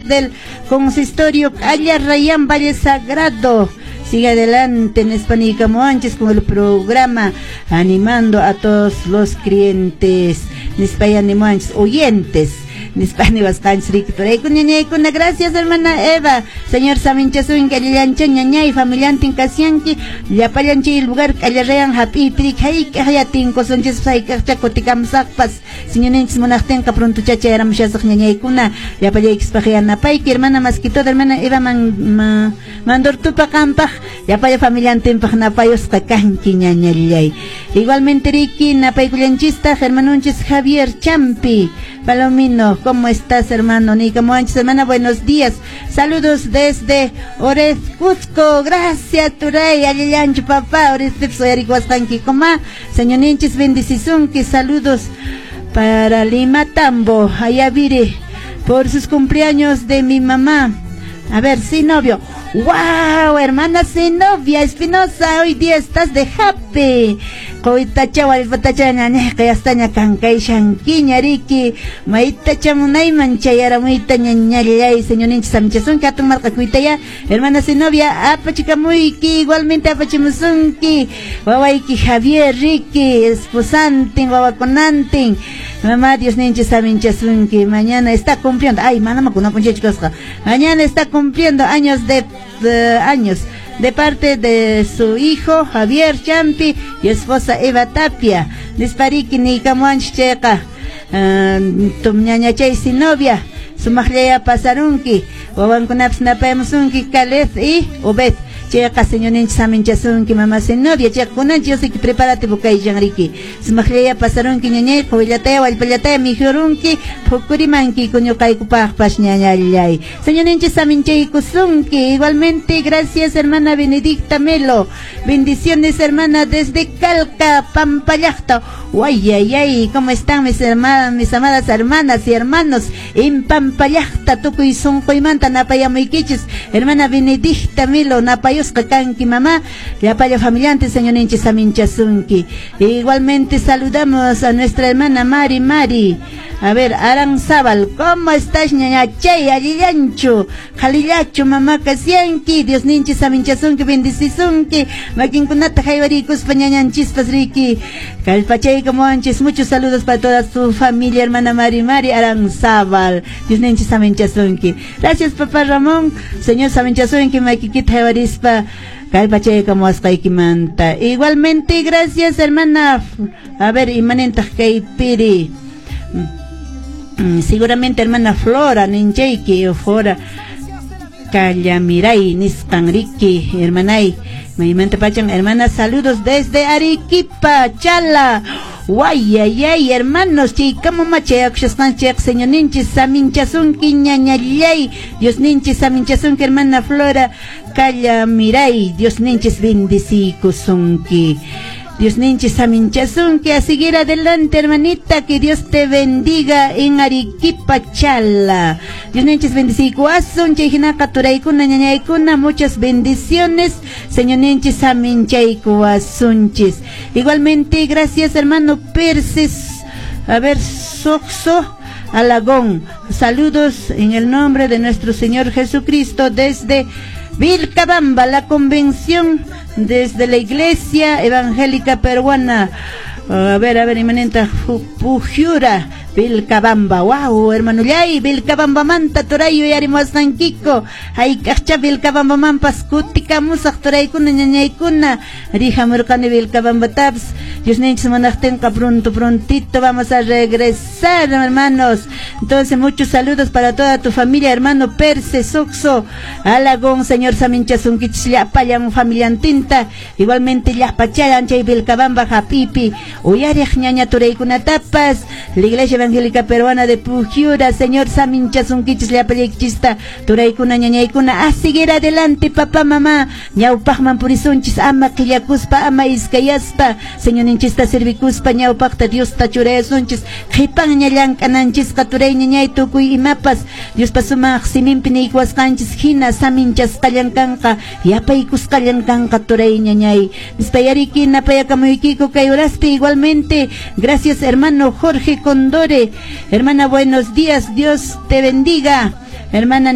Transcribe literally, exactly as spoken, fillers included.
del consistorio Alla Rayán Valle Sagrado. Sigue adelante en España con el programa, animando a todos los clientes, nispa oyentes. Gracias, hermana Eva. Señor saminchasunki, allillancha ñañay, familiantin kasianki, llapallan chay lugar kallarrayan hap'ipiri hayk'aq tinkusunchis, hayk'aqcha kutikamusaqpas, Señorninchis munaqtinqa pronto chayaramushasaq ñañaykuna, llapallaykispaq yanapayki, hermana, más que todo, hermana Eva man, ma, Mandortupa qampaq, llapalla familiantinpaq napayusqa kanki ñañallay. Igualmente riki napaykullanchistaq hermanunchis Javier Champi Palomino. ¿Cómo estás, hermano? Nicamuanchis, hermana, buenos días. Saludos desde Orez, Cusco. Gracias, turay. Allillanchu, papá. Orez, coma. Señor ninchis bendicisunki. Saludos para Lima Tambo, Ayaviri, por sus cumpleaños de mi mamá. A ver, sí, novio. ¡Wow! Hermana Zenobia Espinosa, hoy día estás de happy. Qoytacha wallpatacha ñañayqa yastaña kankayshankiña riki maytacha munayman chayaramuyta ñañallay. Señorninchis saminchasunki, hatun marqakuytaya, hermana Zenobia, apachikamuyki, igualmente apachimusunki wawayki Javier riki, esposantin, wawakunantin. Mamá, Dios ninchis saminchasunki. Mañana está cumpliendo, ay, manama kunan p'unchaychu, mañana está cumpliendo años de, de años de parte de su hijo Javier Champi y esposa Eva Tapia. Nispariki niykamuwanchis chayqa, ñañachay Zenobia, sumaqllaya pasarunki, wawankunapas napayamusunki, Caleb y Obed. Chayqa Señorninchis saminchasunki, mama Zenobia. Chayqa kunanchis yosiki preparativo kayshan riki. Sumaqllaya pasarunki ñañay, quwillataya wallpallataya mikhurunki, phukurimanki ñuqaykupaqpas ñañallay. Señorninchis saminchaykusunki. Igualmente, gracias, hermana Benedicta Melo. Bendiciones, hermana, desde Calca, Pampallacta. Ay, ¿cómo están mis hermanas, mis amadas hermanas y hermanos? En Pampallacta, tukuy sunquymanta napayamuykichis. Hermana Benedicta Melo, napayusqa kanki, mamá. Llapalla familiante, Señorninchis saminchasunki. Igualmente saludamos a nuestra hermana Mari Mari. A ver, Aranzábal, ¿cómo estás, ñañachay? Allillanchu, qhalillachu, mamá kasianki? Dios ninchis saminchasunki, bendicisunki. Makinkunata haywarikuspa ñañanchispas riki. Kallpachaykamuwanchis. Muchos saludos para toda su familia, hermana Mari Mari Aranzábal. Dios ninchis saminchasunki. Gracias, papá Ramón. Señor saminchasunki, makikita haywarispa kallpachaykamuwasqaykimanta. Igualmente, gracias, hermana. A ver, imanintaq kaypiri. Mm, seguramente hermana Flora ninchayki, Flora Callamiray nisqan riki, hermanay. Maymanta pachan, hermana, saludos desde Arequipa, Chala. Guayayay, hermanos, chaykama machayakushasqanchik, Señor ninchis saminchasunki ñañallay. Dios ninchis saminchasunki, hermana Flora Callamiray. Dios ninchis bendicikusunki. Dios ninchis saminchasunki, a seguir adelante, hermanita, que Dios te bendiga en Arequipa, Chala. Dios ninchis bendicikuasun, chayhinaqa turaykuna ñañaykuna, muchas bendiciones. Señor ninchis saminchaykuasunchis. Igualmente, gracias, hermano Perses. A ver, Soxo Alagón. Saludos en el nombre de nuestro Señor Jesucristo desde Vilcabamba, la convención desde la Iglesia Evangélica Peruana. A ver, a ver, imanintaq, Pujiura, Vilcabamba. Wow, hermano llay, Vilcabamba manta turay uyarimuwasqankiku. Hayk'aqcha Vilcabamba manpas kutikamusaq turaykuna ñañaykuna. Rihamurqani Vilcabambatapas. Dios ninchis munaqtinqa pronto, prontito vamos a regresar, hermanos. Entonces, muchos saludos para toda tu familia, hermano Perse, Soxo, Alagón, Señor saminchasunkichis llapallan familiantinta. Igualmente llapachayan chay Vilcabamba hapipi. Uyariq ñaña turaykunatapas. La Iglesia Evangélica Peruana de Pujiura, Señor saminchasunkichis llapallaykichista turaykuna ñañaykuna. A seguir adelante, papá, mamá. Ñawpaqman purisunchis ama qillakuspa, ama iskayaspa. Señor ninchista servikuspa ñawpaqta Diosta churayasunchis. Qhipanña llank'ananchisqa turay ñañay tukuy imapas. Diospa sumaq siminpi niykuwasqanchis hina saminchasqallan kanqa, yapaykusqallan kanqa turay ñañay. Nispayariki napayakamuykiku kay horaspi. Igualmente, gracias, hermano Jorge Condore. Hermana, buenos días, Dios te bendiga. Hermana